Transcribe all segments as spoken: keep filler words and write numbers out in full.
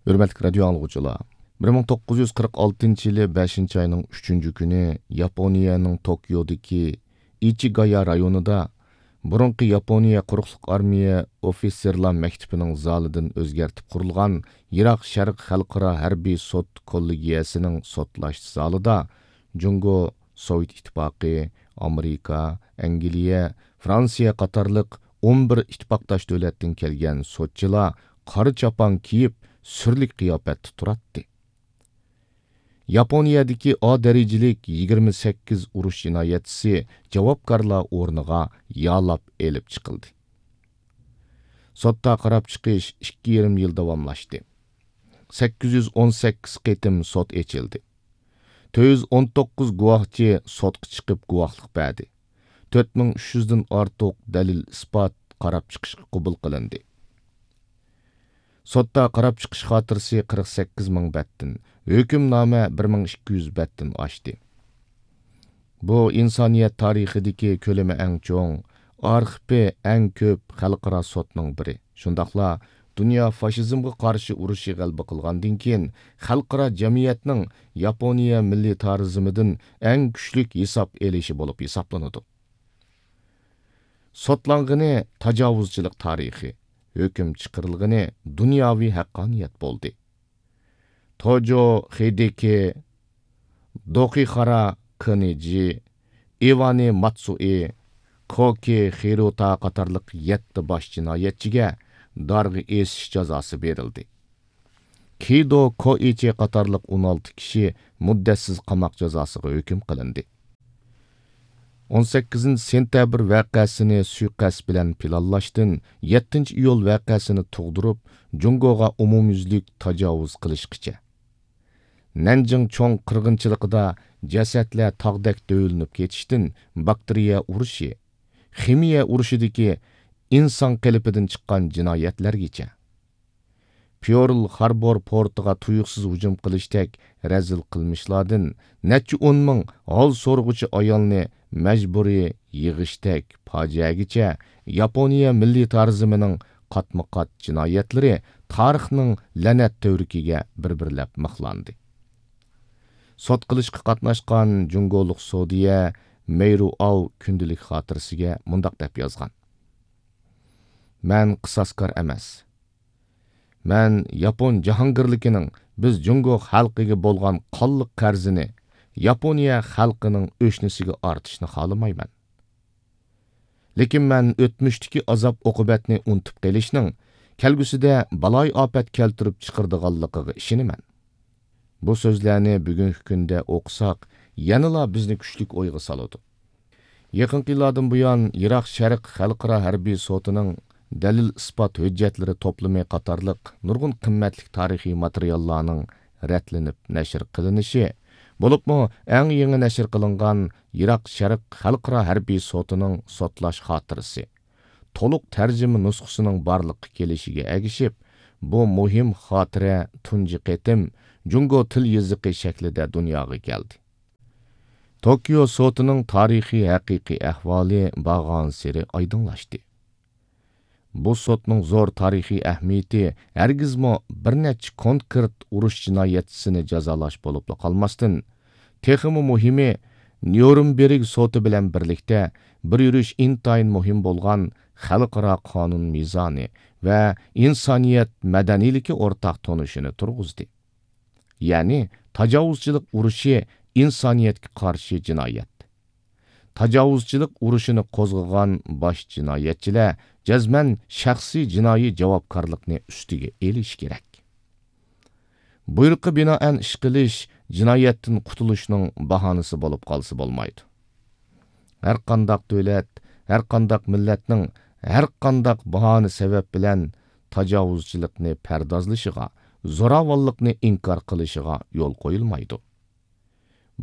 ھۆرمەتلىك رادىيو ئاڭلىغۇچىلار، بىر مىڭ توققۇز يۈز قىرىق ئالتىنچى يىلى بەشىنچى ئاينىڭ ئۈچىنچى كۈنى ياپونىيەنىڭ توكيودىكى ئىچىگايا رايونىدا بۇرۇنقى ياپونىيە قۇرۇقلۇق ئارمىيە ئوفىتسېرلار مەكتىپىنىڭ زالىدىن ئۆزگەرتىپ قۇرۇلغان يىراق شەرق خەلقئارا ھەربىي سوت كوللېگىيەسىنىڭ سوتلاش زالىدا جۇڭگو، سوۋېت ئىتتىپاقى، ئامېرىكا، ئەنگلىيە، فرانسىيە قاتارلىق ئون بىر ئىتتىپاقداش دۆلەتتىن كەلگەن سوتچىلار قارا چاپان كىيىپ، سۈرلۈك قىياپەتتە تۇراتتى. ياپونىيەدىكى ئا دەرىجىلىك يىگىرمە سەككىز ئۇرۇش جىنايەتچىسى جاۋابكارلار ئورنىغا يالاپ ئېلىپ چىقىلدى. سوتتا قاراپ چىقىش ئىككى يېرىم يىل داۋاملاشتى. سەككىز يۈز ئون سەككىز قېتىم سوت ئېچىلدى. تۆت يۈز ئون توققۇز گۇۋاھچى سوتقا چىقىپ گۇۋاھلىق بەردى. تۆت مىڭ ئۈچ يۈزدىن ئارتۇق دەلىل-ئىسپات قاراپ چىقىشقا قوبۇل قىلىندى. سوتتا قاراپ چىقىش خاتىرىسى قىرىق سەككىز مىڭ بەتتىن، ھۆكۈمنامە بىر مىڭ ئىككى يۈز بەتتىن ئاشتى. بۇ ئىنسانىيەت تارىخىدىكى كۆلىمى ئەڭ چوڭ، ئارخىپى ئەڭ كۆپ خەلقئارا سوتنىڭ بىرى. شۇنداقلا دۇنيا فاشىزمغا قارشى ئۇرۇشى غەلىبە قىلغاندىن كېيىن، خەلقئارا جەمئىيەتنىڭ ياپونىيە مىللىتارىزمىدىن ئەڭ كۈچلۈك ھېساب ئېلىشى بولۇپ ھېسابلىنىدۇ. سوتلانغىنى تاجاۋۇزچىلىق تارىخى، ھۆكۈم چىقىرىلغىنى دۇنياۋى ھەققانىيەت بولدى. توجو خېدېكى، دوخىخارا كېنېجى، ئىۋانى ماتسۇئى، كوكى خىروتا قاتارلىق يەتتە باش جىنايەتچىگە دارغا ئېسىش جازاسى بېرىلدى. كىدو كوئىچى قاتارلىق ئون ئالتە كىشى مۇددەتسىز قاماق جازاسىغا ھۆكۈم قىلىندى. ئون سەككىزىنچى سېنتەبىر ۋەقەسىنى سۇيىقەست بىلەن پىلانلاشتىن، يەتتىنچى ئىيۇل ۋەقەسىنى تۇغدۇرۇپ، جۇڭگوغا ئومۇميۈزلۈك تاجاۋۇز قىلىشقىچە. نەنجىڭ چوڭ قىرغىنچىلىقىدا جەسەتلەر تاغدەك دۆۋىلىنىپ كېتىشتىن، باكتېرىيە ئۇرۇشى، خىمىيە ئۇرۇشىدىكى ئىنسان قېلىپىدىن چىققان جىنايەتلەرگىچە. پېرل خاربور پورتىغا تۇيۇقسىز ھۇجۇم قىلىشتەك رەزىل قىلمىشلاردىن نەچچە ئون مىڭ ھال سورىغۇچى ئايالنى مەجبۇرىي يىغىشتەك پاجىئەگىچە، ياپونىيە مىللىتارىزمىنىڭ قاتمۇ قات جىنايەتلىرى تارىخنىڭ لەنەت تۈۋرۈكىگە بىر بىرلەپ مىخلاندى. سوت قىلىشقا قاتناشقان جۇڭگولۇق سودىيە مېيرۇ ئاۋ كۈندىلىك خاتىرىسىگە مۇنداق دەپ يازغان: مەن قىساسكار ئەمەس. مەن ياپون جاھانگىرلىكىنىڭ بىز جۇڭگو خەلقىگە بولغان قانلىق قەرزىنى ياپونىيە خەلقىنىڭ ئۆشنىسىگە ئارتىشنى خالىمايمەن. لېكىن مەن ئۆتمۈشتىكى ئازاب-ئوقۇبەتنى ئۇنتۇپ قېلىشنىڭ كەلگۈسىدە بالايىئاپەت كەلتۈرۈپ چىقىرىدىغانلىقىغا ئىشىنىمەن. بۇ سۆزلەرنى بۈگۈنكى كۈندە ئوقۇساق، يەنىلا بىزنى كۈچلۈك ئويغا سالىدۇ. يېقىنقى يىللاردىن بۇيان، يىراق شەرق خەلقئارا ھەربىي سوتىنىڭ دەلىل-ئىسپات ھۆججەتلىرى توپلىمى قاتارلىق نۇرغۇن قىممەتلىك تارىخىي ماتېرىياللارنىڭ رەتلىنىپ نەشر قىلىنىشى، بولۇپمۇ ئەڭ يېڭى نەشر قىلىنغان يىراق شەرق خەلقئارا ھەربىي سوتىنىڭ سوتلاش خاتىرىسى، تولۇق تەرجىمە نۇسخىسىنىڭ بارلىققا كېلىشىگە ئەگىشىپ، بۇ مۇھىم خاتىرە تۇنجى قېتىم جۇڭگو تىل يېزىقى شەكلىدە دۇنياغا كەلدى. توكيو سوتىنىڭ تارىخىي ھەقىقىي ئەھۋالى بارغانسېرى ئايدىڭلاشتى. بۇ سوتنىڭ زور تارىخىي ئەھمىيىتى ھەرگىزمۇ بىر نەچچە كونكرېت ئۇرۇش جىنايەتچىسىنى جازالاش بولۇپلا قالماستىن، تېخىمۇ مۇھىمى، نيۇرنبېرگ سوتى بىلەن بىرلىكتە بىر يۈرۈش ئىنتايىن مۇھىم بولغان خەلقئارا قانۇن مىزانى ۋە ئىنسانىيەت مەدەنىيلىكى ئورتاق تونۇشىنى تۇرغۇزدى. يەنى تاجاۋۇزچىلىق ئۇرۇشى ئىنسانىيەتكە قارشى جىنايەت. تاجاۋۇزچىلىق ئۇرۇشىنى قوزغىغان باش جىنايەتچىلەر جەزمەن شەخسىي جىنايى جاۋابكارلىقنى ئۈستىگە ئېلىشى كېرەك. بۇيرۇققا بىنائەن ئىش قىلىش جىنايەتتىن قۇتۇلۇشنىڭ باھانىسى بولۇپ قالسا بولمايدۇ. ھەرقانداق دۆلەت، ھەرقانداق مىللەتنىڭ ھەرقانداق باھانە سەۋەب بىلەن تاجاۋۇزچىلىقنى پەردازلىشىغا، زوراۋانلىقنى ئىنكار قىلىشىغا يول قويۇلمايدۇ.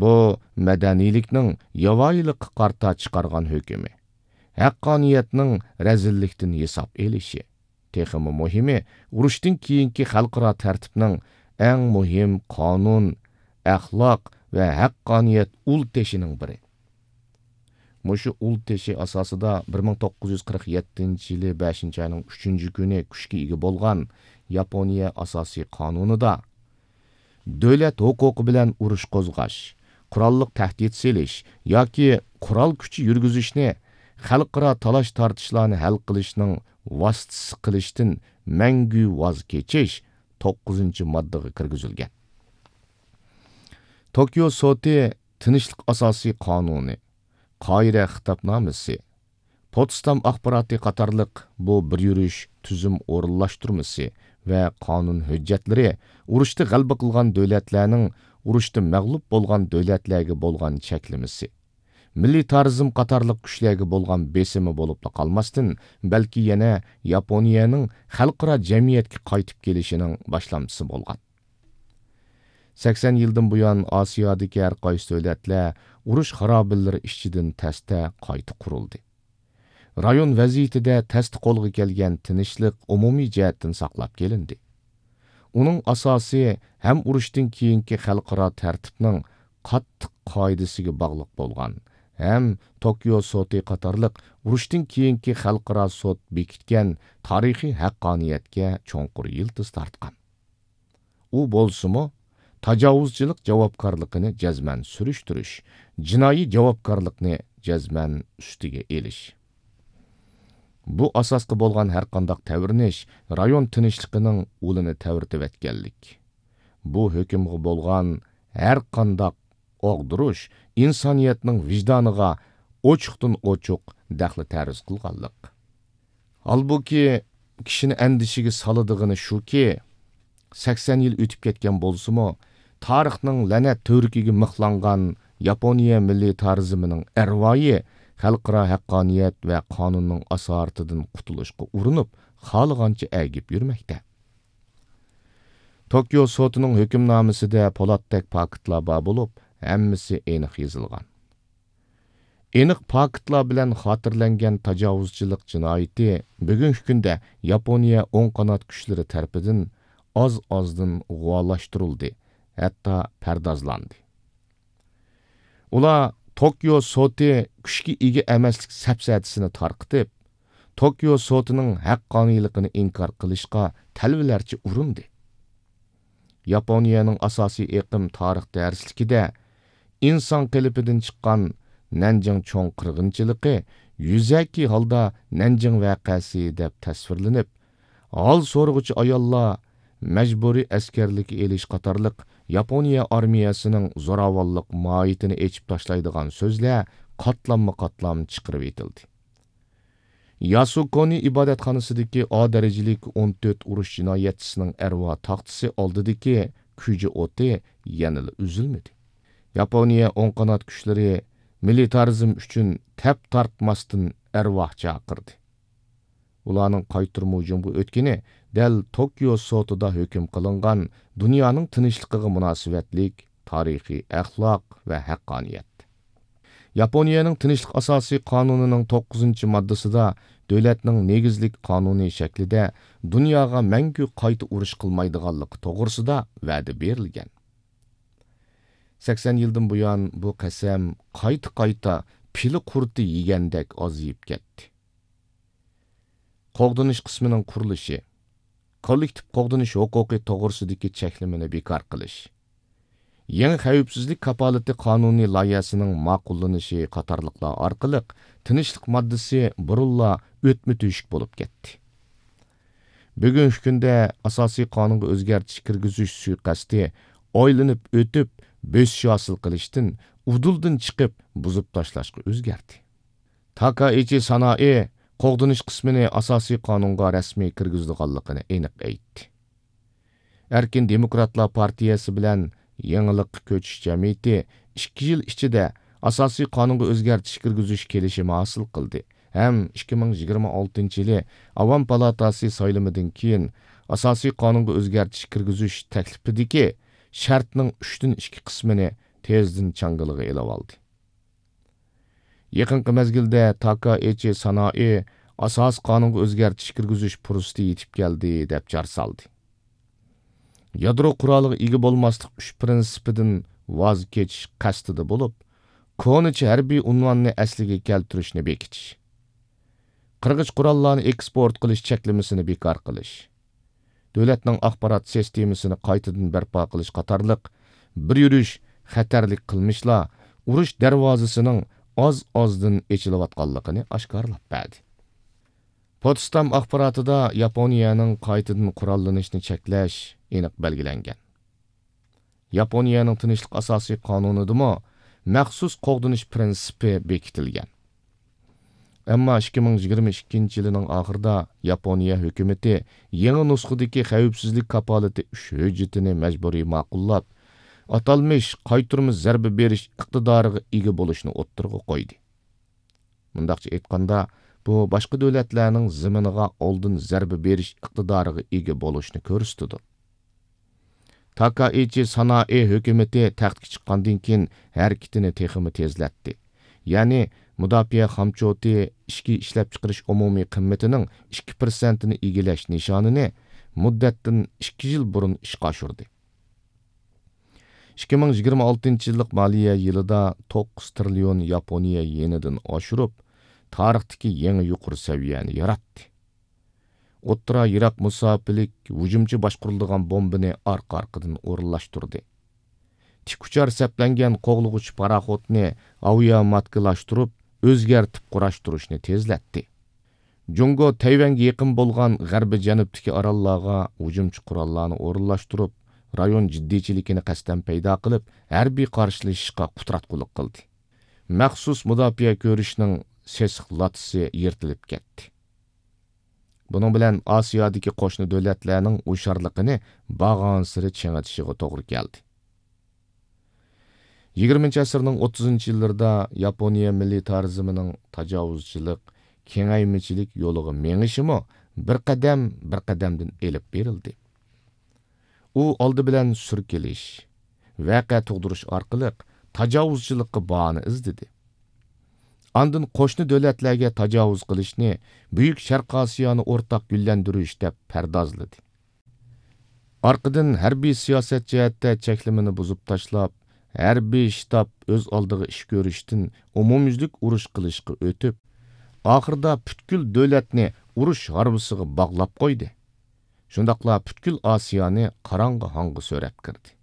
بۇ مەدەنىيلىكنىڭ ياۋايىلىققا قارىتا چىقارغان ھۆكمى، ھەققانىيەتنىڭ رەزىللىكتىن ھېساب ئېلىشى، تېخىمۇ مۇھىمى، ئۇرۇشتىن كېيىنكى خەلقئارا تەرتىپنىڭ ئەڭ مۇھىم قانۇن، ئەخلاق ۋە ھەققانىيەت ئۇل تېشىنىڭ بىرى. مۇشۇ ئۇل تېشى ئاساسىدا بىر مىڭ توققۇز يۈز قىرىق يەتتىنچى يىلى بەشىنچى ئاينىڭ ئۈچىنچى كۈنى كۈچكە ئىگە بولغان ياپونىيە ئاساسىي قانۇنىدا دۆلەت ھوقۇقى بىلەن ئۇرۇش قوزغاش، قوراللىق تەھدىت سېلىش ياكى قورال كۈچى يۈرگۈزۈشنى خەلقئارا تالاش-تارتىشلارنى ھەل قىلىشنىڭ ۋاسىتىسى قىلىشتىن مەڭگۈ ۋاز كېچىش توققۇزىنچى ماددىغا كىرگۈزۈلگەن. توكيو سوتى تىنچلىق ئاساسىي قانۇنى، قاھىرە خىتابنامىسى، پوتسدام ئاخباراتى قاتارلىق بۇ بىر يۈرۈش تۈزۈم ئورۇنلاشتۇرمىسى ۋە قانۇن ھۆججەتلىرى ئۇرۇشتا غەلىبە قىلغان دۆلەتلەرنىڭ ئۇرۇشتا مەغلۇپ بولغان دۆلەتلەرگە بولغان چەكلىمىسى، مىلىتارىزم قاتارلىق كۈچلەرگە بولغان بېسىمى بولۇپلا قالماستىن، بەلكى يەنە ياپونىيەنىڭ خەلقئارا جەمئىيەتكە قايتىپ كېلىشىنىڭ باشلامچىسى بولغان. سەكسەن يىلدىن بۇيان ئاسىيادىكى ھەر قايسى دۆلەتلەر ئۇرۇش خارابىلىرى ئىچىدىن تەستە قايتا قۇرۇلدى. رايون ۋەزىيىتىدە تەستە قولغا كەلگەن تىنچلىق ئومۇمىي جەھەتتىن ساقلاپ كېلىندى. ئۇنىڭ ئاساسى ھەم ئۇرۇشتىن كېيىنكى خەلقئارا تەرتىپنىڭ قاتتىق قائىدىسىگە باغلىق بولغان، ھەم توكيو سوتى قاتارلىق ئۇرۇشتىن كېيىنكى خەلقئارا سوت بېكىتكەن تارىخىي ھەققانىيەتكە چوڭقۇر يىلتىز تارتقان. ئۇ بولسىمۇ، تاجاۋۇزچىلىق جاۋابكارلىقىنى جەزمەن سۈرۈشتۈرۈش، جىنايى جاۋابكارلىقنى جەزمەن ئۈستىگە ئېلىش. بۇ ئاساسقا بولغان ھەرقانداق تەۋرىنىش رايون تىنچلىقىنىڭ ئۇلىنى تەۋرىتىۋەتكەنلىك. بۇ ھۆكۈمگە بولغان ھەرقانداق ئاغدۇرۇش ئىنسانىيەتنىڭ ۋىجدانىغا ئوچۇقتىن ئوچۇق دەخلى تەرۇز قىلغانلىق. ھالبۇكى، كىشىنى ئەندىشىگە سالىدىغىنى شۇكى، سەكسەن يىل ئۆتۈپ كەتكەن بولسىمۇ، تارىخنىڭ لەنەت تۈۋرۈكىگە مىخلانغان ياپونىيە مىللىتارىزمىنىڭ ئەرۋايى خەلقئارا ھەققانىيەت ۋە قانۇننىڭ ئاسارىتىدىن قۇتۇلۇشقا ئۇرۇنۇپ، خالىغانچە ئەگىپ يۈرمەكتە. توكيو سوتىنىڭ ھۆكۈمنامىسىدە پولاتتەك پاكىتلار بار بولۇپ، ھەممىسى ئېنىق يېزىلغان. ئېنىق پاكىتلار بىلەن خاتىرىلەنگەن تاجاۋۇزچىلىق جىنايىتى بۈگۈنكى كۈندە ياپونىيە ئوڭ قانات كۈچلىرى تەرىپىدىن ئاز-ئازدىن غۇۋالاشتۇرۇلدى، ھەتتا پەردازلاندى. ئۇلار توكيو سوتى كۈچكە ئىگە ئەمەسلىك سەپسەتىسىنى تارقىتىپ، توكيو سوتىنىڭ ھەققانىيلىقىنى ئىنكار قىلىشقا تەلۋىلەرچە ئۇرۇندى. ياپونىيەنىڭ ئاساسىي ئېقىم تارىخ دەرسلىكىدە ئىنسان قېلىپىدىن چىققان نەنجىڭ چوڭ قىرغىنچىلىقى يۈزەكى ھالدا نەنجىڭ ۋەقەسى دەپ تەسۋىرلىنىپ، ھال سورىغۇچى ئاياللار مەجبۇرىي ئەسكەرلىككە ئېلىش قاتارلىق ياپونىيە ئارمىيەسىنىڭ زوراۋانلىق ماھىيىتىنى ئېچىپ تاشلايدىغان سۆزلەر قاتلاممۇ قاتلام چىقىرىۋېتىلدى. ياسۇكونى ئىبادەتخانىسىدىكى ئا دەرىجىلىك ئون تۆت ئۇرۇش جىنايەتچىسىنىڭ ئەرۋا تاختىسى ئالدىدىكى كۈجە ئوتى يەنىلا ئۈزۈلمىدى. ياپونىيە ئوڭ قانات كۈچلىرى مىلىتارىزم ئۈچۈن تەپ تارتماستىن ئەرۋا چاقىردى. ئۇلارنىڭ قايتۇرما ھۇجۇمغا ئۆتكىنى دەل توكيو سوتىدا ھۆكۈم قىلىنغان دۇنيانىڭ تىنچلىقىغا مۇناسىۋەتلىك تارىخىي ئەخلاق ۋە ھەققانىيەت. ياپونىيەنىڭ تىنچلىق ئاساسىي قانۇنىنىڭ توققۇزىنچى ماددىسىدا دۆلەتنىڭ نېگىزلىك قانۇنىي شەكلىدە دۇنياغا مەڭگۈ قايتا ئۇرۇش قىلمايدىغانلىقى توغرىسىدا ۋەدە بېرىلگەن. سەكسەن يىلدىن بۇيان بۇ قەسەم قايتا-قايتا پىلە قۇرتى يېگەندەك ئازىيىپ كەتتى. قوغدىنىش قىسمىنىڭ قۇرۇلۇشى، كوللېكتىپ قوغدىنىش ھوقۇقى توغرىسىدىكى چەكلىمىنى بىكار قىلىش، يېڭى خەۋپسىزلىك كاپالىتى قانۇنىي لايىھەسىنىڭ ماقۇللىنىشى قاتارلىقلار ئارقىلىق تىنچلىق ماددىسى بۇرۇنلا ئۆتمە تۆشۈك بولۇپ كەتتى. بۈگۈنكى كۈندە ئاساسىي قانۇنغا ئۆزگەرتىش كىرگۈزۈش سۇيىقەستى ئايلىنىپ ئۆتۈپ، بۆسۈش ھاسىل قىلىشتىن، ئۇدۇلدىن چىقىپ، بۇزۇپ تاشلاشقا ئۆزگەردى. تاكائىچى سانائى قوغدىنىش قىسمىنى ئاساسىي قانۇنغا رەسمىي كىرگۈزىدىغانلىقىنى ئېنىق ئېيتتى. ئەركىن دېموكراتلار پارتىيەسى بىلەن يېڭىلىققا كۆچۈش جەمئىيىتى ئىككى يىل ئىچىدە ئاساسىي قانۇنغا ئۆزگەرتىش كىرگۈزۈش كېلىشىمى ھاسىل قىلدى ھەم ئىككى مىڭ يىگىرمە ئالتىنچى يىلى ئاۋام پالاتاسى سايلىمىدىن كېيىن ئاساسىي قانۇنغا ئۆزگەرتىش كىرگۈزۈش تەكلىپىدىكى شەرتنىڭ ئۈچتىن ئىككى قىسمىنى تېزدىن چاڭگىلىغا ئېلىۋالدى. يېقىنقى مەزگىلدە تاكائىچى سانائى ئاساسىي قانۇنغا ئۆزگەرتىش كىرگۈزۈش پۇرسىتى يېتىپ كەلدى، دەپ جار سالدى. يادرو قورالىغا ئىگە بولماسلىق ئۈچ پىرىنسىپىدىن ۋاز كېچىش قەستىدە بولۇپ، كونىچە ھەربىي ئۇنۋاننى ئەسلىگە كەلتۈرۈشنى بېكىتىش، قىرغىچ قوراللارنى ئېكسپورت قىلىش چەكلىمىسىنى بىكار قىلىش، دۆلەتنىڭ ئاخبارات سىستېمىسىنى قايتىدىن بەرپا قىلىش قاتارلىق بىر يۈرۈش خەتەرلىك قىلمىشلار ئۇرۇش دەرۋازىسىنىڭ ئاز-ئازدىن ئېچىلىۋاتقانلىقىنى ئاشكارىلاپ بەردى. پوتسدام ئاخباراتىدا ياپونىيەنىڭ قايتىدىن قوراللىنىشنى چەكلەش ئېنىق بەلگىلەنگەن. ياپونىيەنىڭ تىنچلىق ئاساسىي قانۇنىدىمۇ مەخسۇس قوغدىنىش پىرىنسىپى بېكىتىلگەن. ئەمما ئىككى مىڭ يىگىرمە ئىككىنچى يىلىنىڭ ئاخىرىدا ياپونىيە ھۆكۈمىتى يېڭى نۇسخىدىكى خەۋپسىزلىك كاپالىتى ئۈچ ھۆججىتىنى مەجبۇرىي ماقۇللاپ، ئاتالمىش قايتۇرما زەربە بېرىش ئىقتىدارىغا ئىگە بولۇشنى ئوتتۇرىغا قويدى. مۇنداقچە ئېيتقاندا، بۇ باشقا دۆلەتلەرنىڭ زېمىنىغا ئالدىن زەربە بېرىش ئىقتىدارىغا ئىگە بولۇشنى كۆرسىتىدۇ. تاكائىچى سانائى ھۆكۈمىتى تەختكە چىققاندىن كېيىن ھەرىكىتىنى تېخىمۇ تېزلەتتى. يەنى مۇداپىئە خامچوتى ئىچكى ئىشلەپچىقىرىش ئومۇمىي قىممىتىنىڭ ئىككى پىرسەنتىنى ئىگىلەش نىشانىنى مۇددەتتىن ئىككى يىل بۇرۇن ئىشقا ئاشۇردى. ئىككى مىڭ يىگىرمە ئالتىنچى يىللىق مالىيە يىلىدا توققۇز تىرىليون ياپونىيە يېنىدىن ئاشۇرۇپ، تارىختىكى يېڭى يۇقىرى سەۋىيەنى ياراتتى. ئوتتۇرا يىراق مۇساپىلىك ھۇجۇمچى باشقۇرۇلىدىغان بومبىنى ئارقا-ئارقىدىن ئورۇنلاشتۇردى. تىك ئۇچار سەپلەنگەن قوغلىغۇچ پاراخوتنى ئاۋىياماتكىلاشتۇرۇپ، ئۆزگەرتىپ قۇراشتۇرۇشنى تېزلەتتى. جۇڭگو تەيۋەنگە يېقىن بولغان غەربىي جەنۇبتىكى ئاراللارغا ھۇجۇمچى قوراللارنى ئورۇنلاشتۇرۇپ، رايون جىددىيچىلىكىنى قەستەن پەيدا قىلىپ، ھەربىي قارشىلىشىشقا قۇتراتقۇلۇق قىلدى. مەخسۇس مۇداپىئە كۆرۈشىنىڭ سېسىق لاتىسى يىرتىلىپ كەتتى. بۇنىڭ بىلەن ئاسىيادىكى قوشنا دۆلەتلەرنىڭ ھوشيارلىقىنى بارغانسېرى چىڭىتىشىغا توغرا كەلدى. يىگىرمىنچى ئەسىرنىڭ ئوتتۇزىنچى يىللىرىدا ياپونىيە مىلىتارىزمىنىڭ تاجاۋۇزچىلىق، كېڭەيمىچىلىك يولىغا مېڭىشىمۇ بىر قەدەم، بىر قەدەمدىن ئېلىپ بېرىلدى. ئۇ ئالدى بىلەن سۈركىلىش، ۋەقە تۇغدۇرۇش ئارقىلىق تاجاۋۇزچىلىققا باھانە ئىزدىدى. ئاندىن قوشنا دۆلەتلەرگە تاجاۋۇز قىلىشنى بۈيۈك شەرقىي ئاسىيانى ئورتاق گۈللەندۈرۈش دەپ پەردازلىدى. ئارقىدىن ھەربىي سىياسەت جەھەتتە چەكلىمىنى بۇزۇپ تاشلاپ، ھەربىي شتاب ئۆز ئالدىغا ئىش كۆرۈشتىن ئومۇميۈزلۈك ئۇرۇش قىلىشقا ئۆتۈپ، ئاخىرىدا پۈتكۈل دۆلەتنى ئۇرۇش ھارۋىسىغا باغلاپ قويدى. شۇنداقلا پۈتكۈل ئاسىيانى قاراڭغۇ ھاڭغا سۆرەپ كىردى.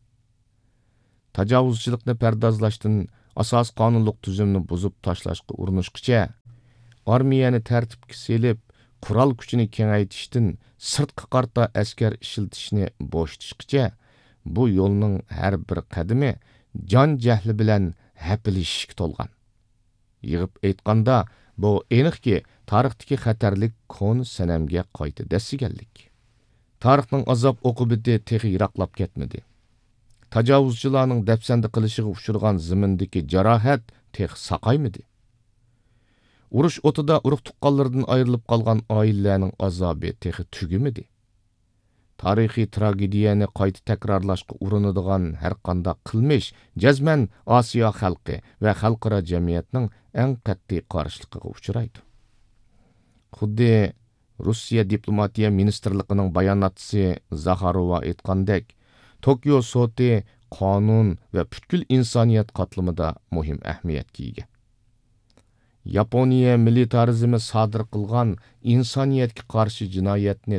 تاجاۋۇزچىلىقنى پەردازلاشتىن ئاساسىي قانۇنلۇق تۈزۈمنى بۇزۇپ تاشلاشقا ئۇرۇنۇشقىچە، ئارمىيەنى تەرتىپكە سېلىپ، قورال كۈچىنى كېڭەيتىشتىن سىرتقا قارىتا ئەسكەر ئىشلىتىشنى بوشىتىشقىچە، بۇ يولنىڭ ھەر بىر قەدىمى جان جەھلى بىلەن ھەپىلىشىشكە تولغان. يىغىپ ئېيتقاندا، بۇ ئېنىقكى، تارىختىكى خەتەرلىك كونا سەنەمگە قايتا دەسسىگەنلىك. تارىخنىڭ ئازاب ئوقۇبىتى تېخى يىراقلاپ كەتمىدى. تاجاۋۇزچىلارنىڭ دەپسەندە قىلىشىغا ئۇچرىغان زېمىندىكى جاراھەت تېخى ساقايمىدى. ئۇرۇش ئوتىدا ئۇرۇق-تۇغقانلىرىدىن ئايرىلىپ قالغان ئائىلىلەرنىڭ ئازابى تېخى تۈگىمىدى. تارىخىي تراگېدىيەنى قايتا تەكرارلاشقا ئۇرۇنىدىغان ھەرقانداق قىلمىش جەزمەن ئاسىيا خەلقى ۋە خەلقئارا جەمئىيەتنىڭ ئەڭ قەتئىي قارشىلىقىغا ئۇچرايدۇ. خۇددى روسىيە دىپلوماتىيە مىنىستىرلىقىنىڭ باياناتچىسى زاخاروۋا ئېيتقاندەك، توكيو سوتى قانۇن ۋە پۈتكۈل ئىنسانىيەت قاتلىمىدا مۇھىم ئەھمىيەتكە ئىگە. ياپونىيە مىلىتارىزمى سادىر قىلغان ئىنسانىيەتكە قارشى جىنايەتنى